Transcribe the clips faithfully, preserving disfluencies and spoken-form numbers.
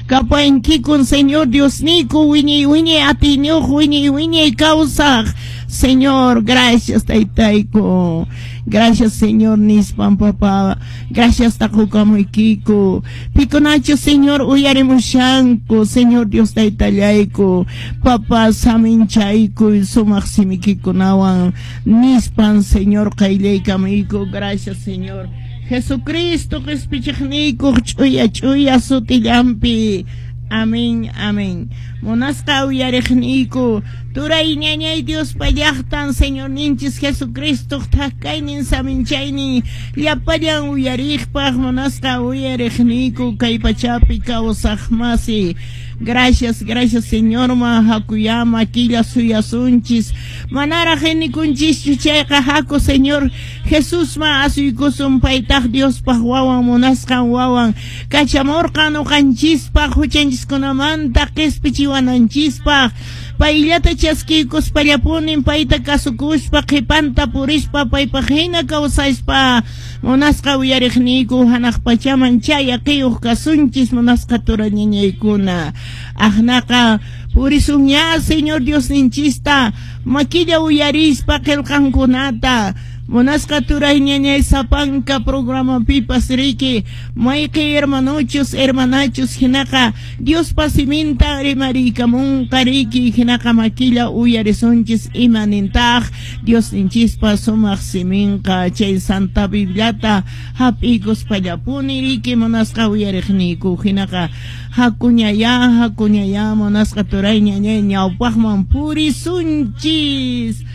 Kapankikun Señor Diosniyku, wiñay wiñay atiyniyuq, wiñay wiñay kawsaq Señor. Gracias, Taytayku. Gracias, Señor, nispan, papá. Gracias taqukamuykiku. Pikunachu, Señor, uyarimushanku, Señor Dios Taytallayku. Papá, saminchayku sumaq simikikunawan nispan, Señor, qayllaykamuyku. Gracias, Señor. Jesucristo qispichiqniykuq ch'uya ch'uya sutillampi. Amén, amén. Munasqa uyariqniyku, turay ñañay, Diospa llaqtan, Señorninchis Jesucristo thakaynin saminchaynin llapallan uyariqpaq. Munasqa uyariqniyku, kay pachapi kawsaq masi. Gracias, gracias, Señorman hakuyama killa suyasunchis. Manaraq inikunchischu chayqa, haku Señor Jesusman asuykusun. Paytaq Diospaq wawan, munasqan wawan, kachamurqan ñuqanchispaq huchanchiskunamanta qispichiwananchispaq. Payllata chaskiykuspallapunin, payta kasukuspa, qhipanta purispa, paypaq hina kawsaspa, munasqa uyariqniyku, hanaq pachaman chayaqiyuq kasunchis. Munasqa turañañaykuna, aqnaqa purisunña Señor Diosninchista makilla uyarispa qillqankunata. Munasqa turay ñañay, sapanka programapipas riki mayqi hermanochus, hermanachus hinaqa Diospa siminta rimariykamunqa riki, hinaqa makilla uyarisunchis ima nintaq Diosninchispa sumaq siminqa. Chay Santa Bibliata hap'iykuspallapuni riki, munasqa uyariqniyku. Hinaqa hakuñayá, hakuñayá, munasqa turay ñañay, ñawpaqman purisunchis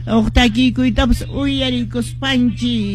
uq takikuytapas uyarikuspanchis.